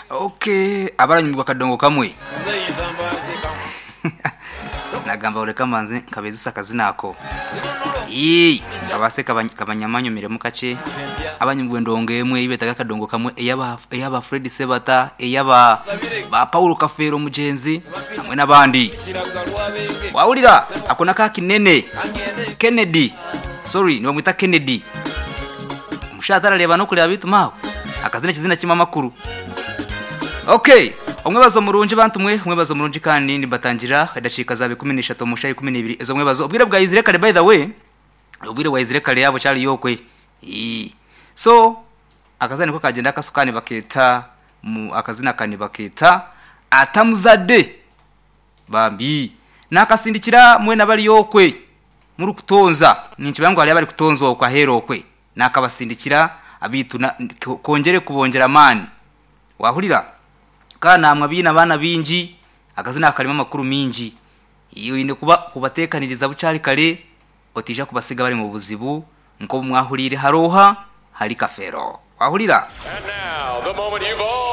Okay, abaranyumirwa akadongo kamwe. Nagamba oreka mbanze nkabezusa akazina ako. Ii, kabase kabanyamanyumiremu kakye. Abanyumirwa endongo emwe ei beetaga akadongo kamwe eyaba eyaba Fred Sebata, eyaba ba Paulo Kafeero Mugyenzi hamwe n'abandi. Wahurira ako n'aka Kinene Kennedy, sorry nibamweta Kennedy. Omushaija tarareeba n'okureeba beitu maawe akazina ekizina kimwe amakuru. Okay, omwebazo murungi bantu mwe, omwebazo murungi kandi nimbatangira edakiika zaaba 13 omu shaaha 12 ez'omwebazo. Obwire bwaizire kare by the way, obwire bwaizire kare yaaba okyariyo okwe. Ii. So, akazina niko kagyenda akaso ka nibakeeta mu akazina aka nibakeeta Atamuzade. Bambi. Naakasindikira mwena abari okwe murikutonza. Ninkimanya ngu hariyo abarikutonza okwe aheeru okwe. Naakabasindikira beitu kongyere kubongyera amaani. Waahurira? Ka naamwe abaine abaana baingi, akazina aka karimu amakuru maingi. Oine kuba kubateekaniriza bukyari kare, otaija kubasiga bari mu buzibu nk'obu mwahuriire hari oha? Hari Kafeero. Waahurira? And now, the moment you've all.